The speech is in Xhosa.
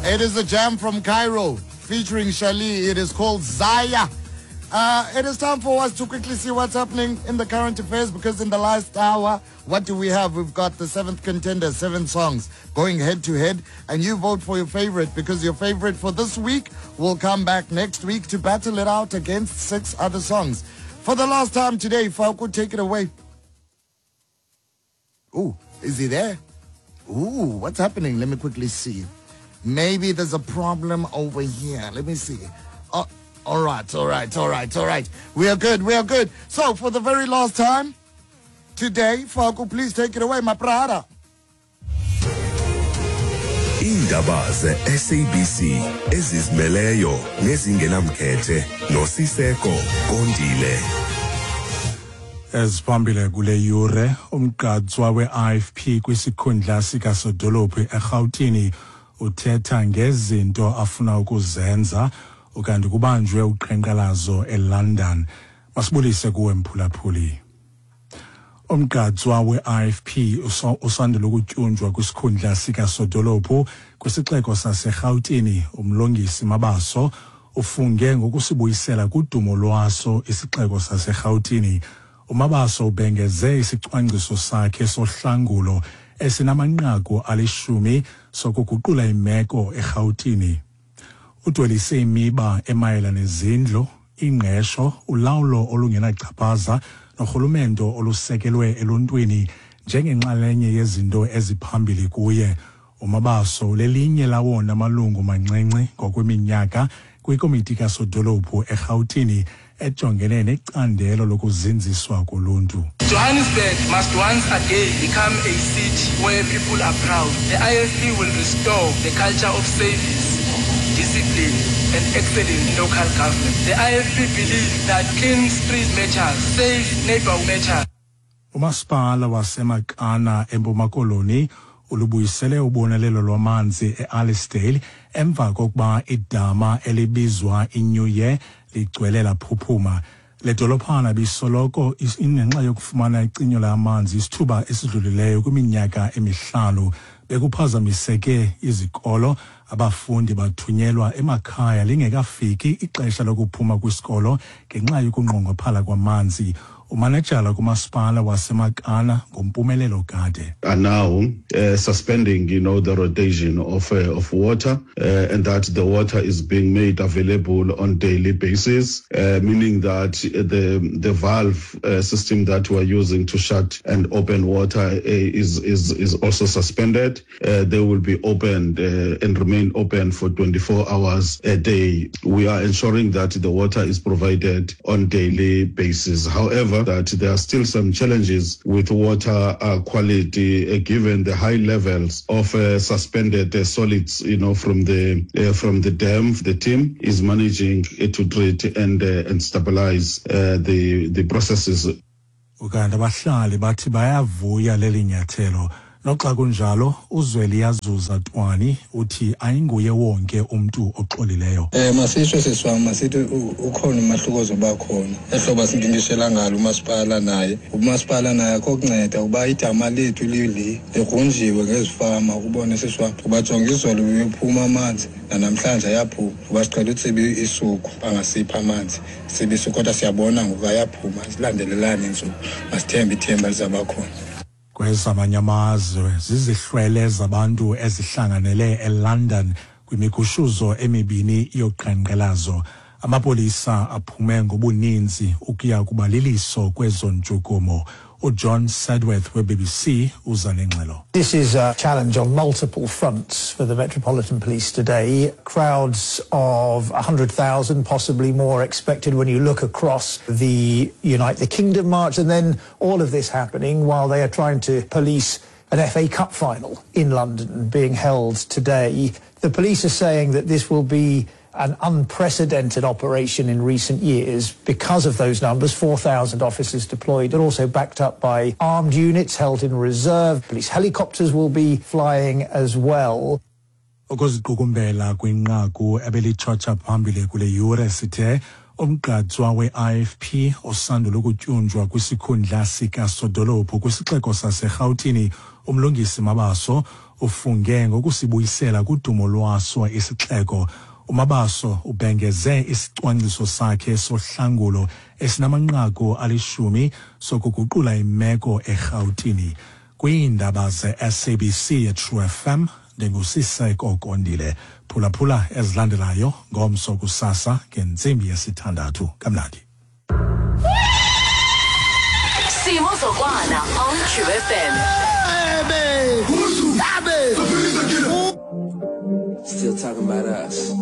It is a jam from Cairo featuring Shali. It is called Zaya. Uh, it is time for us to quickly see what's happening in the current affairs because in the last hour, what do we have? We've got the seventh contender, seven songs going head to head, and you vote for your favorite because your favorite for this week will come back next week to battle it out against six other songs. For the last time today, Falco, take it away. Ooh, is he there? Ooh, what's happening? Let me quickly see. Maybe there's a problem over here. Let me see. Oh, all right, all right, all right, all right. We are good, we are good. So, for the very last time today, Falco, please take it away, my brother. Iindaba ze-SABC ezizimeleyo nezingenamkhethe noSiseko Kondile. Eziphambili kule yure umgqatswa we-IFP kwisikhundla sikasodolophu eRhawutini uthetha ngezinto afuna ukuzenza ukanti kubanjwe uqhankqalazo eLondon. Masibulise kuwe mphulaphuli. Umgqatswa we-IFP usandula ukutyunjwa kwisikhundla sikasodolophu kwisixeko saseRhawutini uMlungisi Mabaso ufunge ngokusibuyisela kudumo lwaso isixeko saseRhawutini. UMabaso ubhengeze isicwangciso sakhe sohlangulo esinamanqaku alishumi sokuguqula imeko eRhawutini. Udwelise imiba emayela nezindlu, ingqesho, ulawulo olungenachaphaza norhulumento olusekelwe eluntwini njengenxalenye yezinto eziphambili kuye. UMabaso lelinye lawona malungu mancinci ngokweminyaka kwikomiti kasodolophu eRhawutini ejongene necandelo lokuzinziswa koluntu. Johannesburg must once again become a city where people are proud. The IFP will restore the culture of service, discipline and excellent local government. The IFP believes that clean street matters, safe neighbor matters. Umasipala waseMakana eMpuma Koloni ulubuyisele ubonelelo lwamanzi e-Alisdale emva kokuba idama elibizwa iNew Year ligcwele laphuphuma. Le dolophana ibisoloko ingenxa yokufumana icinyo lamanzi isithuba esidlulileyo kwiminyaka emihlanu. Bekuphazamiseke izikolo, abafundi bathunyelwa emakhaya lingekafiki ixesha lokuphuma kwisikolo ngenxa yokunqongophala kwamanzi. Umanejala kumasipala waseMakana nguMpumelelo Gade. Are now suspending, you know, the rotation of of water, and that the water is being made available on daily basis, meaning that the the valve system that we're using to shut and open water is is is also suspended. They will be opened and remain open for 24 hours a day. We are ensuring that the water is provided on daily basis. However, that there are still some challenges with water quality given the high levels of suspended solids, you know, from the from the dam. The team is managing to treat and and stabilize the the processes. Ukanti abahlali bathi bayavuya leli nyathelo. Noxa kunjalo, uZweliyazuza Twani uthi ayinguye wonke umntu oxolileyo. Um masitsho sisi wam masithi ukhona umahluko ozoba khona ehlobo sinkinkishela ngalo umasipala naye umasipala naye akho kunceda uba idama lethu lili ligrunjiwe ngezifama ukubone sisi wam uba jonga izolo uyophuma amanzi nanamhlanje ayaphuma uba siqhela utsiba isuku bangasiphi amanzi sibe isuku kodwa siyabona ngoku ayaphuma zilandelelane iintsuku masithembe ithemba lizawuba khona Kwezamanye amazwe zizihlwele zabantu ezihlanganele eLondon kwimigushuzo emibini yoqhankqalazo. Amapolisa aphume ngobuninzi ukuya kuba liliso kwezo ntshukumo. UJohn Sedworth weBBC uza nengxelo. This is a challenge on multiple fronts for the Metropolitan Police today. Crowds of 100,000, possibly more expected when you look across the Unite the Kingdom march, and then all of this happening while they are trying to police an FA Cup final in London being held today. The police are saying that this will be an unprecedented operation in recent years because of those numbers, 4,000 officers deployed, but also backed up by armed units held in reserve. Police helicopters will be flying as well. Ukuziqukumbela kwinqaku ebelitshotsha phambili kule yure sithe umgqatswa we-IFP osandula ukutyunjwa kwisikhundla sikasodolophu kwisixeko saseRhawutini uMlungisi Mabaso. Ufunge ngokusibuyisela kudumo lwaso isixeko. UMabaso ubhengeze isicwangciso sakhe sohlangulo esinamanqaku alishumi sokuguqula imeko eRhawutini. Kwiindaba ze-SABC yeTrue FM ndinguSiseko Kondile. Phulaphula ezilandelayo ngomso kusasa ngentsimbi yesithandathu. Kamnandi. Simo Zokwana on True FM. Still talking about us.